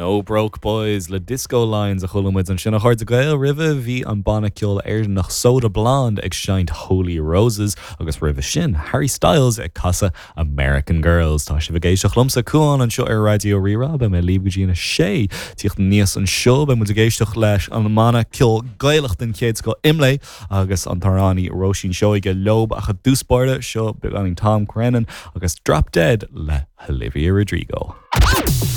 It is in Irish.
No Broke Boys le Disco Lines a chuala muid ansin a chairde Gael. Roimhe bhí an banna ceoil Éireannach Soda Blonde ag seinnt Holy Roses agus roimhe sin Harry Styles ag casadh American Girls. Tá sibh ag éisteacht liomsa, Cuán, anseo ar Raidió Rí-Rá. Beidh mé libh go dtí an 6. Tíocht aníos anseo beidh muid ag éisteacht leis an mbanna ceoil Gaelach den chéad scoth Imlé agus an t-amhránaí Róisín Seoige leob ach i dtús báire seo beagáinín Tom Grennan agus Drop Dead le hOlivia Rodrigo.